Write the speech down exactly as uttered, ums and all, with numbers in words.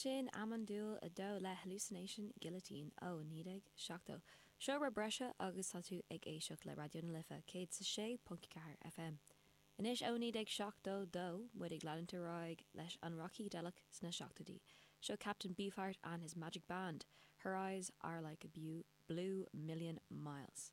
Sin Amandúil a dó le Hallucination Guillotine ó naoi déag seachtó. Seo rud breise agus tá tú ag éisteacht le Raidió na Life céad is a sé ponc ceathair FM. Anois ó naoi déag seachtó dó muid ag leanúint ar aghaidh leis an rac shícideileach sna seachtóidí. Seo Captain Beefheart and his Magic Band. Her eyes are like a blue million miles.